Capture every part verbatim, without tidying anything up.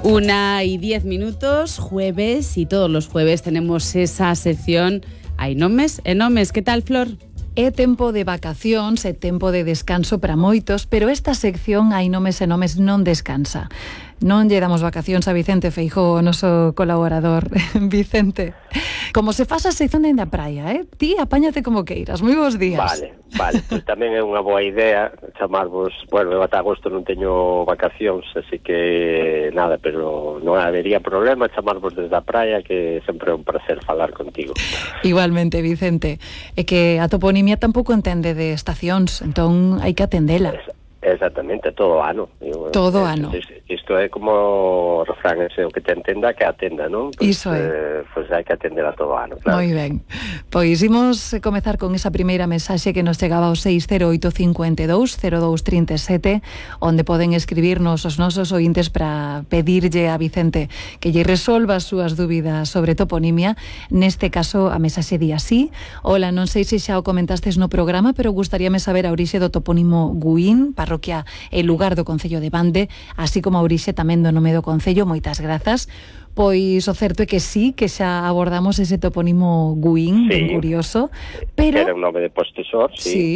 Una y diez minutos, jueves, y todos los jueves tenemos esa sección Hai nomes e nomes. Que tal, Flor? É tempo de vacacións, é tempo de descanso para moitos, pero esta sección Hai nomes e nomes non descansa. Non lle damos vacacións a Vicente Feijóo, o noso colaborador. Vicente, como se faz a sección dende a praia, eh? Ti apáñate como queiras. Moi bons días. Vale, vale, pois tamén é unha boa idea chamarvos, bueno, eu ata agosto non teño vacacións, así que nada, pero non habería problema chamarvos desde a praia, que sempre é un placer falar contigo. Igualmente, Vicente. É que a toponimia tampouco entende de estacións, entón hai que atendela. Exactamente, todo ano. Todo ano. Isto é como o refrán ese, o que te entenda que atenda, non? Pois, Iso é. Eh, pois hai que atender a todo ano, claro. Moi ben. Pois imos comezar con esa primeira mensaxe que nos chegaba ao seis cero oito cinco dous cero dous tres sete, onde poden escribirnos os nosos ointes para pedirlle a Vicente que lle resolva as súas dúbidas sobre toponimia. Neste caso, a mensaxe di así: Ola, non sei se xa o comentastes no programa, pero gustaríame saber a orixe do topónimo Guín, parroquia e lugar do concello de Bande, así como a orixe tamén do nome do concello. Moitas grazas. Pois o certo é que sí, que xa abordamos ese topónimo Guín, sí, ben curioso, pero era un nome de postesor, sí. Sí,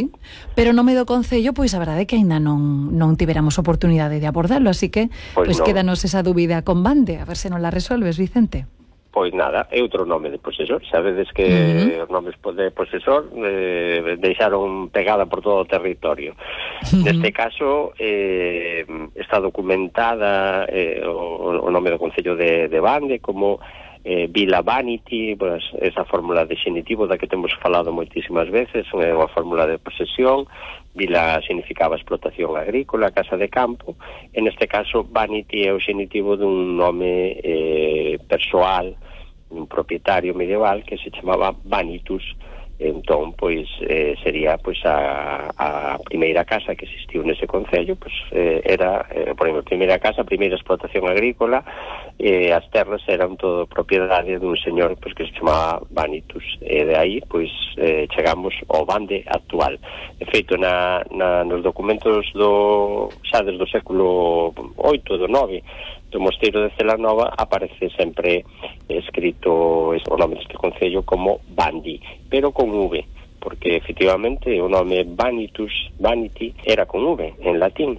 pero o nome do concello, pois a verdade é que aínda non non tiveramos oportunidade de abordarlo, así que pois, pois no. quédanos esa dúbida con Bande, a ver se non la resolves, Vicente. Pois nada, é outro nome de posesor. Sabedes que uh-huh. os nomes de posesor eh, deixaron pegada por todo o territorio. Uh-huh. Neste caso eh, está documentada eh, o, o nome do concello de, de Bande como eh, Vila Vanity, pues, esa fórmula de xenitivo da que temos falado moitísimas veces, é unha fórmula de posesión. Vila significaba explotación agrícola, casa de campo. En este caso, Vanity é o xenitivo dun nome eh, persoal, un propietario medieval que se chamaba Vanitus. Entón, pois, eh, sería pois a, a primeira casa que existiu nese concello, pois eh, era, eh, por exemplo, a primeira casa, a primeira explotación agrícola, e eh, as terras eran todo propiedade dun señor pois que se chamaba Vanitus, e de aí, pois, eh, chegamos ao Bande actual. De feito, na, na, nos documentos do, xa desde o século oito, do nove, do mosteiro de Celanova, aparece sempre escrito o nome deste concello como Bandi, pero con V, porque efectivamente o nome Vanitus, Vanity, era con V en latín.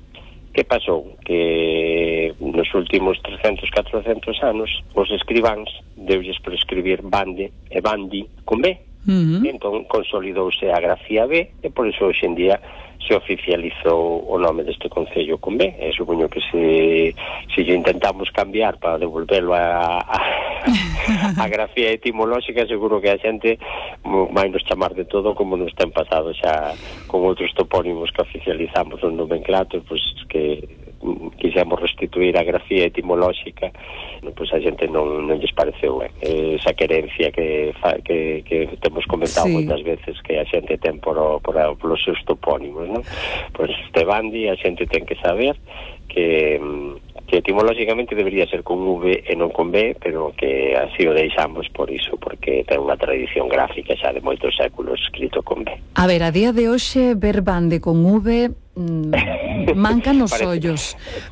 Que pasou? Que nos últimos trescentos, catrocentos anos os escribáns deulles por escribir Bande e Bandi con B. Uh-huh. Entón consolidouse a grafía B, e por iso hoxe en día se oficializou o nome deste concello con B. E supoño que se, se intentamos cambiar para devolverlo a, a, a grafía etimolóxica, seguro que a xente vai nos chamar de todo, como nos ten pasado xa con outros topónimos que oficializamos un nomenclato, pois que quixemos restituir a grafía etimolóxica, pois a xente non, non lles pareceu ben. Esa querencia que, fa, que, que temos comentado sí. moitas veces que a xente ten por, por, por os seus topónimos, non? Pois este Bandi a xente ten que saber que, que etimolóxicamente debería ser con V e non con B, pero que así o deixamos por iso, porque ten unha tradición gráfica xa de moitos séculos escrito con B. A ver, a día de hoxe ver Bande con V mm, mancan os Parece, ollos,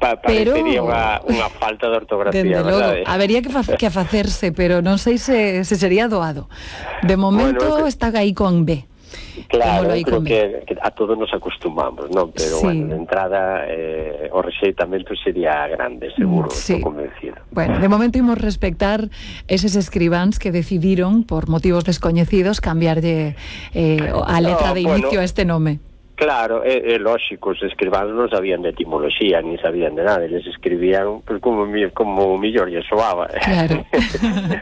pa, pero parecería unha, unha falta de ortografía, verdade? Habería que, fa que facerse, pero non sei se, se sería doado. De momento bueno, que... está aí con B. Claro, creo que, que a todos nos acostumamos, non? Pero, sí. bueno, de entrada eh, o rexeitamento sería grande, seguro, sí. estou convencido. Bueno, de momento imos respectar eses escribáns que decidiron, por motivos descoñecidos, cambiarlle eh, a letra no, de inicio bueno, a este nome. Claro, é, é lógico, os escribáns non sabían de etimoloxía, ni sabían de nada, eles escribían pues, como, como millor lle soaba. Claro.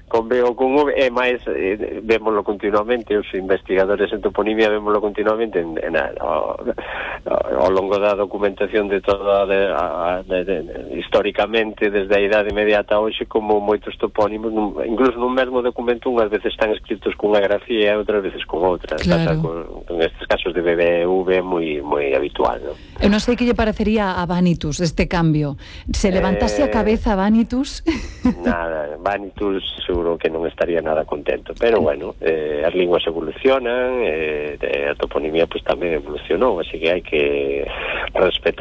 Con B ou con V, e máis, eh, vémoslo continuamente, os investigadores en toponimia vémoslo continuamente en, en, ao, ao longo da documentación de toda, de, a, de, de, de, históricamente, desde a idade inmediata a hoxe, como moitos topónimos, nun, incluso nun mesmo documento, unhas veces están escritos cunha grafía e outras veces con outra. Claro. Pasa con, con estes casos de B B V, moi moi habitual, ¿no? Eu non sei que lle parecería a Vanitus este cambio. Se levantase eh, a cabeza Vanitus? Nada, Vanitus seguro que non estaría nada contento, pero bueno, eh, as linguas evolucionan, eh, a toponimia pues tamén evolucionou, así que hai que respetar